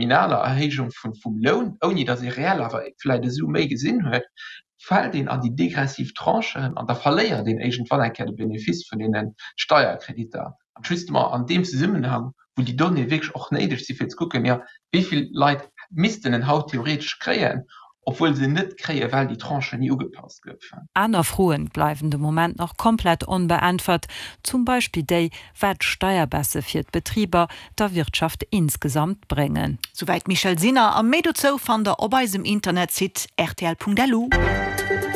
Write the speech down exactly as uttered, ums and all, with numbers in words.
nominaler Erhéijung vun vum Loun, ouni datt ee reell awer vläicht esou méi gesinn huet, fält een an déi degressiv Tranchen an da verléiert een iergendwann eng Kéier de Benefice vun deene Steierkreditter. An justement an deem Zesummenhang, wou déi Donnéeë wierklech och néideg si fir ze kucken, jo, wéi vill Leit missten en haut theoretesch kréien, obwuel se net kréien, well déi Tranchen ni ugepasst goufen. Aner Froen bleiwen de Moment nach komplett onbeäntwert, zum Beispill déi, wat Steierbaisse fir d'Betriber der Wirtschaft insgesamt bréngen. Souwäit Michèle Sinner a méi dozou fannt der op eisem Internetsite rtl Punkt lu.